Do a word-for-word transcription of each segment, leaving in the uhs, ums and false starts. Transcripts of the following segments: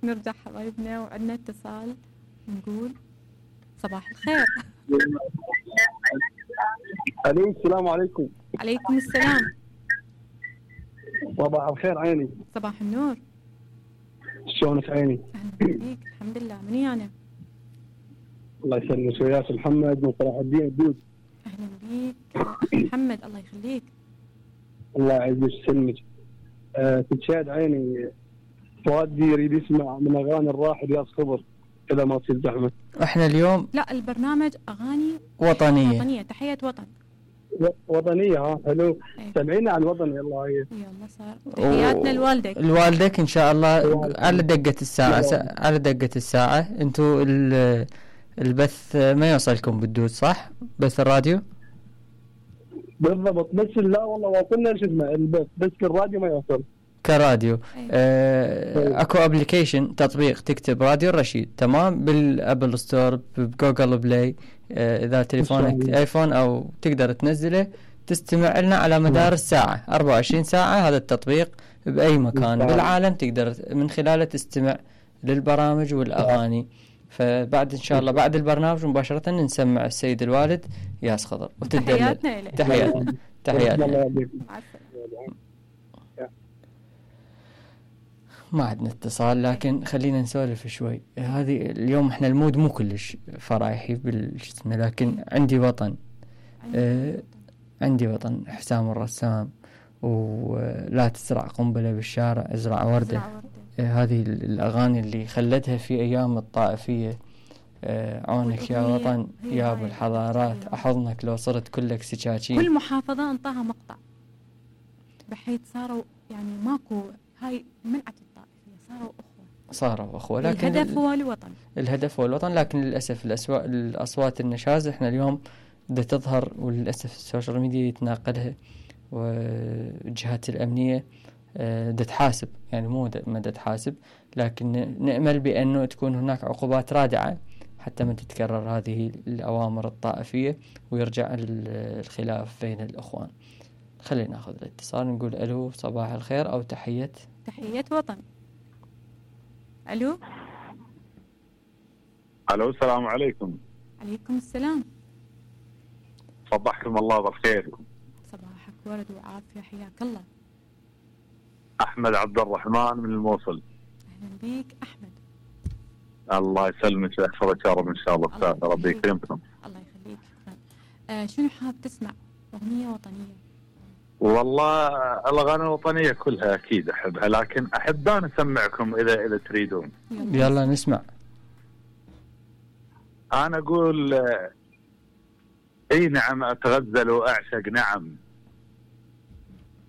نرجع حبايبنا وعندنا اتصال، نقول صباح الخير. الو السلام عليكم. عليكم السلام. صباح الخير عيني. صباح النور. شلونك عيني؟ اهلا بيك. الحمد لله. مني انا؟ الله يسلمك وياك محمد من صلاح الدين الدود. اهلا بيك اخي محمد. الله يخليك. الله يعزك ويسلمك. أه تتشاهد عيني فؤاد يريد يسمع من اغاني الراحل ياس خضر اذا ما تصير زحمه. احنا اليوم لا البرنامج اغاني وطنيه وطنيه تحيه وطن وطنيه. ها حلو. أيه. سمعينا عن الوطن يلا هي. يلا صار تحياتنا لوالدك. لوالدك ان شاء الله على دقه الساعه س... على دقه الساعه. انتم ال... البث ما يوصلكم بالدود صح؟ بث الراديو بالضبط. بس لا والله وصلنا شو اسمه البث بس الراديو ما يوصل كراديو. آه اكو ابلكيشن تطبيق تكتب راديو الرشيد تمام بالابل ستور بجوجل بلاي. آه اذا تليفونك ايفون او تقدر تنزله تستمع لنا على مدار الساعه أربعة وعشرين ساعه. هذا التطبيق باي مكان بالعالم تقدر من خلاله تستمع للبرامج والاغاني. فبعد ان شاء الله بعد البرنامج مباشره نسمع السيد الوالد ياس خضر وتدلل. تحياتنا له. تحياتنا تحياتنا. ما عندنا اتصال لكن خلينا نسولف شوي. هذه اليوم احنا المود مو كلش فرايحي بالجسم لكن عندي وطن. آه عندي وطن حسام الرسام ولا تزرع قنبلة بالشارع ازرع وردة. آه هذه الأغاني اللي خلتها في أيام الطائفية. آه عونك يا وطن يا أبو الحضارات أحضنك لو صرت كلك سكاكين. كل محافظة انطاها مقطع بحيث صاروا يعني ماكو هاي منعت الطائفية صاروا أخوة. صاروا أخوة لكن الهدف هو الوطن. الهدف هو الوطن لكن للأسف الأسوا... الأصوات النشاز احنا اليوم بدها تظهر وللأسف السوشيال ميديا يتناقلها والجهات الأمنية بدها تحاسب يعني مو ما بدها تحاسب لكن نأمل بأنه تكون هناك عقوبات رادعة حتى ما تتكرر هذه الأوامر الطائفية ويرجع الخلاف بين الأخوان. خلينا ناخذ الاتصال نقول ألو صباح الخير أو تحية تحية وطن. ألو ألو السلام عليكم. عليكم السلام. صبحكم الله بالخير. صباحك ورد وعافية حياك الله. أحمد عبد الرحمن من الموصل. أهلا بيك أحمد. الله يسلمك ويحفظك يا رب إن شاء الله. الله ربي يكرمكم. الله يخليك. آه شنو حاب تسمع؟ أغنية وطنية. والله الأغاني الوطنية كلها أكيد أحبها لكن أحب أن أسمعكم إذا إذا تريدون. يلا نسمع. أنا أقول أي نعم أتغزل وأعشق نعم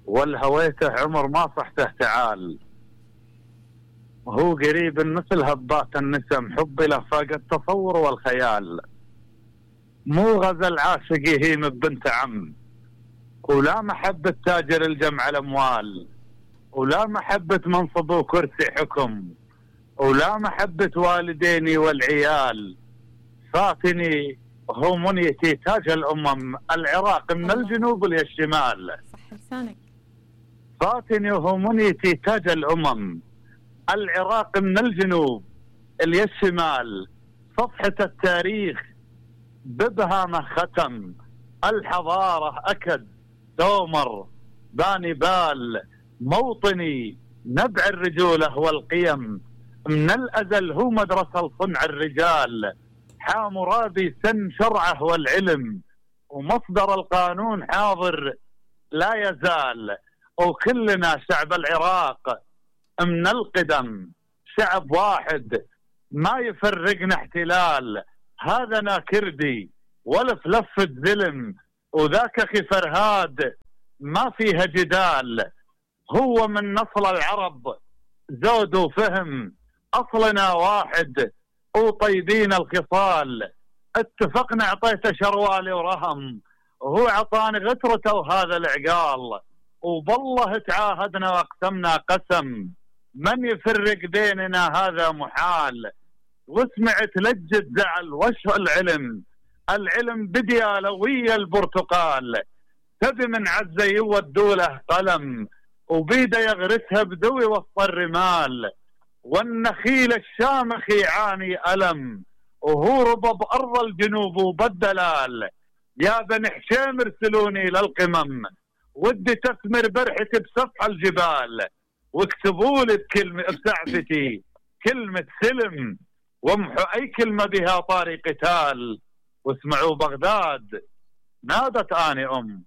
والهويته عمر ما صحته تعال هو قريب مثل هبات النسم حبي له فاق التصور والخيال مو غزل عاشق يهيم ببنت عم ولا محبة تاجر الجمع الأموال ولا محبة منصب وكرسي حكم ولا محبة والديني والعيال فاتني هو منيتي تاج الأمم العراق من الجنوب للشمال صح لسانك فاتني هو منيتي تاج الأمم العراق من الجنوب للشمال صفحة التاريخ ببهامه ختم الحضارة أكد دومر باني بال موطني نبع الرجولة والقيم من الأزل هو مدرسة صنع الرجال حامرابي سن شرعه والعلم ومصدر القانون حاضر لا يزال وكلنا شعب العراق من القدم شعب واحد ما يفرقنا احتلال هذا كردي ولف لفة زلم وذاك أخي فرهاد ما فيها جدال هو من نصل العرب زود وفهم أصلنا واحد وطيبين الخصال اتفقنا اعطيته شروالي ورهم وهو عطاني غترته وهذا العقال وبالله تعاهدنا واقسمنا قسم من يفرق بيننا هذا محال وسمعت لجة زعل وش العلم العلم بديالوية البرتقال تبي من عزة يودوا له قلم وبيده يغرسها بدوي وسط الرمال والنخيل الشامخ يعاني ألم، وهو ربى بأرض الجنوب وبالدلال. يا بني حشيم ارسلوني للقمم، ودي تثمر برحتي بسفح الجبال، واكتبوا لي بكلمة بسعفتي كلمة سلم، وامحوا أي كلمة بها طاري قتال. واسمعوا بغداد نادت آني أم،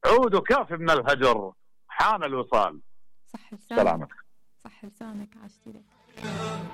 عودوا كاف من الهجر حان الوصال. صح لسانك، سلامتك. صح لسانك، عشتي لك.